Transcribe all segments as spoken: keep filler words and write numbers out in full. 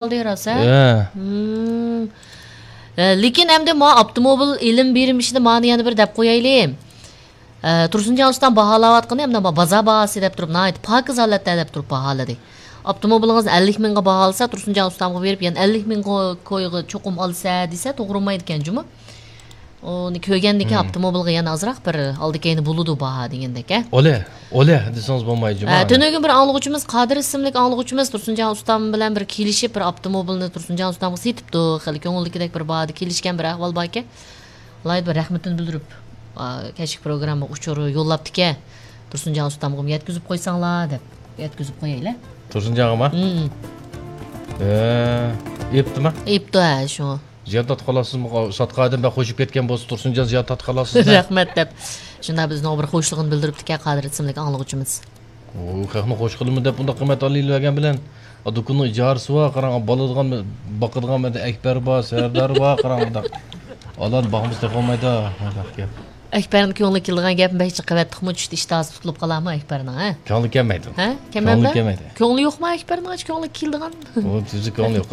قالدى راست، ھە؟ ھە. ھىم. ئە، لېكىن ئەمدى ما ئاپتوموبىل ئېلىم بېرىم ئىشىدا مانى يەنە بىر دەپ قويايلى. ئە، تۇرسۇنجان ئۇستام باھالاۋاتقىنى ئەمدى ما بازار باھاسى دەپ تۇرۇپ، ناھايىتى پاكىز ھالەتتە دەپ تۇرۇپ باھالىدى. ئاپتوموبىلىڭىزنى ئەللىك مىڭغا باھالىسا، تۇرسۇنجان ئۇستامغا بېرىپ، يەنە ئەللىك مىڭ كويغا چوقۇم ئالسا دېسە، توغرا بولمايدىكەن جۇمۇ. ئۇنى كۆرگەندىن كېيىن ئاپتوموبىلغا يەنە ئازراق بىر ئالدى كەينى بولىدۇ باھا دېگەندەك، ھە؟ ئولە، ئولە دېسىڭىز بولمايدۇ جۇمۇ. ھە، تۈنۈگۈن بىر ئاڭلىغۇچىمىز، قادىر ئىسىملىك ئاڭلىغۇچىمىز تۇرسۇنجان ئۇستام بىلەن بىر كېلىشىپ، بىر ئاپتوموبىلنى تۇرسۇنجان ئۇستامغا سېتىپتۇ. خېلى كۆڭۈلدىكىدەك بىر باھادا كېلىشكەن بىر ئەھۋال باركەن. ئالاھىدە بىر رەھمىتىنى بىلدۈرۈپ، ئا، كەچلىك پروگراممىغا ئۇچۇر يوللاپتىكەن. تۇرسۇنجان ئۇستامغىمۇ يەتكۈزۈپ قويساڭلار دەپ. يەتكۈزۈپ قويايلى. تۇرسۇنجانغىمۇ؟ ھىم. ئە، ئېيىپتىما؟ ئېيىپتۇ، ھە، شۇ. زىيان تارتقانلارسىز، ساتقان ئادەم بەك خوشۇپ كەتكەن بولسا، تۇرسۇنجان زىيان تارتقانلارسىز. رەھمەت دەپ. شۇنداق بىزنىڭ بىر خوشلۇقىنى بىلدۈرۈپتىكەن قادىر ئىسىملىك ئاڭلىغۇچىمىز. ئۇ خەقنى خوش قىلىمەن دەپ بۇنداق قىممەت ئالىۋەرگەن بىلەن، ئا، دۇكىنىنىڭ ئىجارىسى بار، قاراڭ، بالىدىغان، باقىدىغان مەندە ئەكبەر بار، سەردار بار، قاراڭ، بۇنداق. ئالان باقمىسا تېخى بولمايدۇ، مۇنداق گەپ. ئەكبەرنىڭ كۆڭلىگە كېلىدىغان گەپنى بەك جىق قىلىۋەتتۇقمۇ، چۈشتە ئىشتىھاسى تۇتۇلۇپ قالارمۇ ئەكبەرنىڭ، ھە؟ كۆڭلى كەلمەيدۇ. ھە؟ كۆڭلى كەلمەيدۇ. كۆڭلى يوقمۇ ئەكبەرنىڭ؟ كۆڭلىگە كېلىدىغان. ئۇ تۈزۈك كۆڭلى يوق.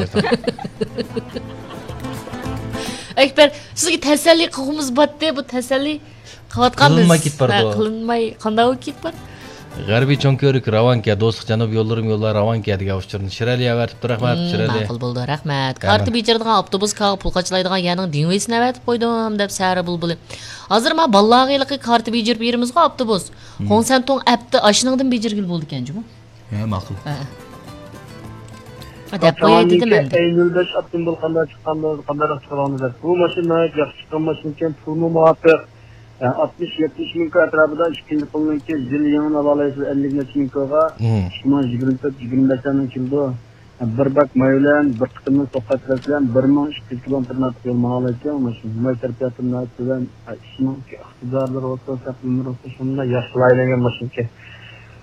ئەكبەر، سىزگە تەسەللى قىلغۇمىز باتتى، بۇ تەسەللى قىلىۋاتقان قىلىنماي بىز. كېتىپ بارىدۇ. ھە، قىلىنماي، قانداق بولۇپ كېتىپ بار؟ غەربىي چوڭ كۆۋرۈك راۋانكە، دوستلۇق جەنۇب يوللىرىم يوللار راۋانكە دېگەن ئۇچۇرنى شىرئەلى ئەۋەتىپتۇ، رەھمەت، شىرئەلى. ماقۇل بولدى، رەھمەت. كارتا بېجىرىدىغان ئاپتوبۇس كاغا پۇل قاچىلايدىغان يەرنىڭ دىڭۋېيسىنى ئەۋەتىپ قويدۇم، دەپ سەرى بۇلبۇلى. ھازىر ما بالىلارغا ھېلىقى كارتا بېجىرىپ بېرىمىزغۇ ئاپتوبۇس. خۇڭسەنتۇڭ ئەپتى ئاشۇنىڭدىن بېجىرگىلى بولىدىكەن جۇمۇ. ھە، ماقۇل. ھە. دەپ قوياي دېدىم ئەمدى. ئەي نۆل بەش ئاپتوموبىل قانداق چىققان، قانداقراق چىقىدىغان دەپ. بۇ ماشىنا ناھايىتى ياخشى چىققان ماشىنىكەن، پۇلمۇ مۇۋاپىق. ئاتمىش، يەتمىش مىڭ كوي ئەتراپىدا ئىككىنچى قولنىڭكى يىل يېڭىنى ئالالايسىز، ئەللىك نەچچە مىڭ كويغا. ئىككى مىڭ يىگىرمە تۆت، يىگىرمە بەشلەرنىڭ كېلىدۇ. بىر باك ماي بىلەن، بىر قېتىملىق توختاش بىلەن بىر مىڭ ئىككى يۈز كىلومېتىر نەق يول ماڭالايدىكەن ماشىنا. ماي سەرپىياتى ناھايىتى تۆۋەن. ئىشنىڭ ئىقتىدارلىرى بولسا، سەپ ئۆمرى بولسا، شۇنداق ياخشى لايىھەلەنگەن ماشىنىكەن.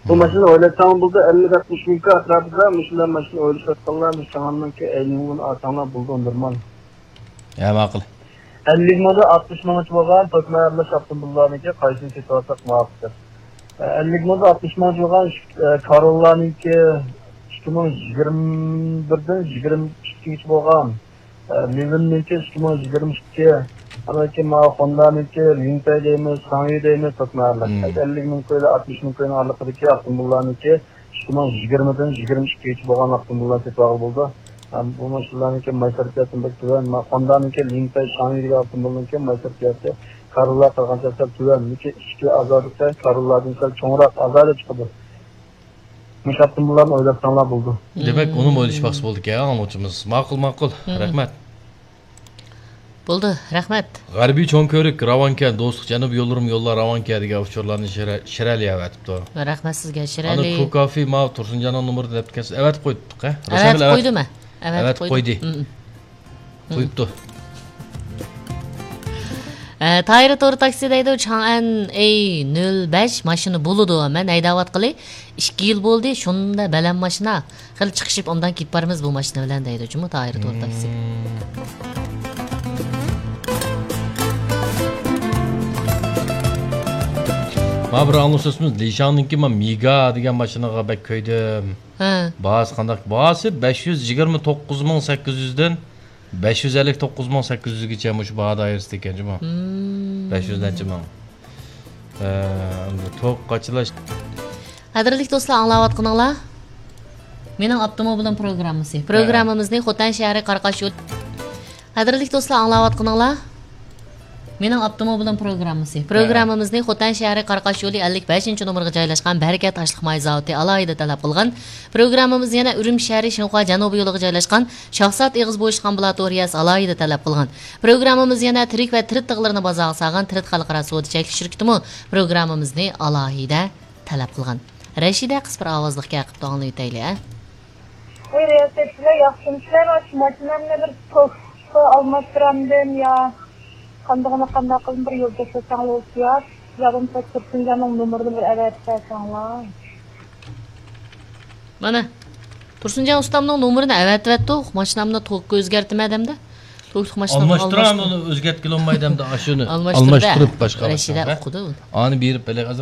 بۇ ماشىنا ئويلاتساڭ بولىدۇ، ئەللىك، ئاتمىش مىڭ كوي ئەتراپىدا مۇشۇنداق ماشىنا ئويلىشىۋاتقانلار، مۇشۇ چاڭاننىڭكى ئەينىڭ بۇنى ئالساڭلار بولىدۇ، نورمال. ھە، ماقۇل. ئەللىك مىڭدا ئاتمىش مىڭغىچە بولغان توكمەن ئارىلاش ئاپتوموبىللارنىڭكى قايسىنى سېتىۋالساق مۇۋاپىقتۇر؟ ئەللىك مىڭدا ئاتمىش مىڭغىچە بولغان ئىش-، ئە، كاروللانىڭكى ئىككى مىڭ يىگىرمە بىردىن يىگىرمە ئىككىگىچە بولغان، ئە، لىۋىننىڭكى ئىككى مىڭ يىگىرمە ئىككى، ئاندىن كېيىن ماۋۇ خوندانىڭكى لىنتەي دەيمىز، شاڭيۈ دەيمىز، توكمەن ئارىلاش. ئەللىك مىڭ كويلا ئاتمىش مىڭ كوينىڭ ئارىلىقىدىكى ئاپتوموبىللارنىڭكى ئىككى مىڭ يىگىرمىدىن يىگىرمە ئىككىگىچە بولغان ئاپتوموبىللارنى سېتىۋالغىلى بولىدۇ. ھەم بۇ ماشىنىلارنىڭكى ماي سەرپىياتى بەك تۆۋەن. ما-، خوندانىڭكى لىنتەي شاڭيۈ دېگەن ئاپتوموبىلنىڭكى ماي سەرپىياتى كاروللا قىلغانچە سەل تۆۋەن. لېكىن ئىچكى ئازادە سەل كاروللادىن سەل چوڭراق ئازادە چىقىدۇ. مۇشۇ ئاپتوموبىللارنى ئويلاتساڭلار بولىدۇ. دېمەك، ئۇنىمۇ ئويلىشىپ باقسا بولىدىكەن، ئاڭلىغۇچىمىز. ماقۇل، ماقۇل. رەھمەت. بولدى، رەھمەت. غەربىي چوڭ كۆۋرۈك راۋانكە، دوستلۇق جەنۇب يوللىرىم يوللار راۋانكە دېگەن ئۇچۇرلارنى شىرە-، شىرەلى ئەۋەتىپتۇ. رەھمەت سىزگە، شىرەلى. ئانا كوكافى ماۋۇ تۇرسۇنجاننىڭ نومۇرىنى دەپتىكەنسىز. ئەۋەتىپ قويدۇق، ھە؟ ئەۋەتىپ قويدۇم، ھە. ئەۋەتىپ قويدى. قويۇپتۇ. ئە، تايىر تور تاكسى دەيدۇ، چاڭئەن ئەي نۆل بەش ماشىنا بولىدۇ. مەن ھەيدەۋاتقىلى ئىككى يىل بولدى، شۇنداق بەلەن ماشىنا. خېلى چىقىشىپ ئوبدان كېتىپ بارىمىز بۇ ماشىنا بىلەن دەيدۇ جۇمۇ تايىر تور تاكسى. مانا بىر ئاڭلىسىمىز، لىشاڭنىڭكى ما مېگا دېگەن ماشىنىغا بەك كۆيدۈم. ھە. باھاسى قانداق؟ باھاسى بەش يۈز يىگىرمە توققۇز مىڭ سەككىز يۈزدىن بەش يۈز ئەللىك توققۇز مىڭ سەككىز يۈزگىچە مۇشۇ باھا دائىرىسىدە ئىكەن جۇمۇ. بەش يۈز نەچچە مىڭ. ئە، توك قاچىلاش. قەدىرلىك دوستلار، ئاڭلاۋاتقىنىڭلار مېنىڭ ئاپتوموبىلىم پروگراممىسى. پروگراممىمىزنى خوتەن شەھىرى قاراقاش يول. قەدىرلىك دوستلار، ئاڭلاۋاتقىنىڭلار مېنىڭ ئاپتوموبىلىم پروگراممىسى. پروگراممىمىزنى خوتەن شەھىرى قاراقاش يولى ئەللىك بەشىنچى نومۇرغا جايلاشقان بەرىكەت ئاشلىق ماي زاۋۇتى ئالاھىدە تەلەپ قىلغان. پروگراممىمىز يەنە ئۈرۈمچى شەھىرى شىنخۇا جەنۇبىي يولىغا جايلاشقان شاھزات ئېغىز بويىچۇق ئامبۇلاتورىيەسى ئالاھىدە تەلەپ قىلغان. پروگراممىمىز يەنە تىرىك ۋە تىرىت تىغلىرىنى بازارغا سالغان تىرىت خەلقئارا سودا چەكلىك شىركىتىمۇ پروگراممىمىزنى ئالاھىدە تەلەپ قىلغان. رەشىدە قىس بىر ئاۋازلىق گەپ قىپتۇ، ئاڭلىۋېتەيلى، ھە؟ ۋاي، رىياسەتچىلەر، ياخشىمۇسىلەر؟ مانا شۇ ماشىنامنى بىر توكسىغا ئالماشتۇرامدىم يا قاندىغىنى قانداق قىلىپ بىر يول كۆرسەتسەڭلار بولسا يا، يا بولمىسا تۇرسۇنجاننىڭ نومۇرىنى بىر ئەۋەتىپ بەرسەڭلار. مانا، تۇرسۇنجان ئۇستامنىڭ نومۇرىنى ئەۋەتىۋەتتۇق. ماشىنامنى توكقا ئۆزگەرتىمەن دەمدە. توكلۇق ماشىنامنى ئالماشتۇرۇۋەتتىم. ئالماشتۇرامدۇ، ئۇنى ئۆزگەرتكىلى بولماي دەمدە، ئاشۇنى ئالماشتۇرۇپ باشقا رەشىدە ماشىنىغا ئۇقىدۇ. ئانى بېرىپ بېلەي.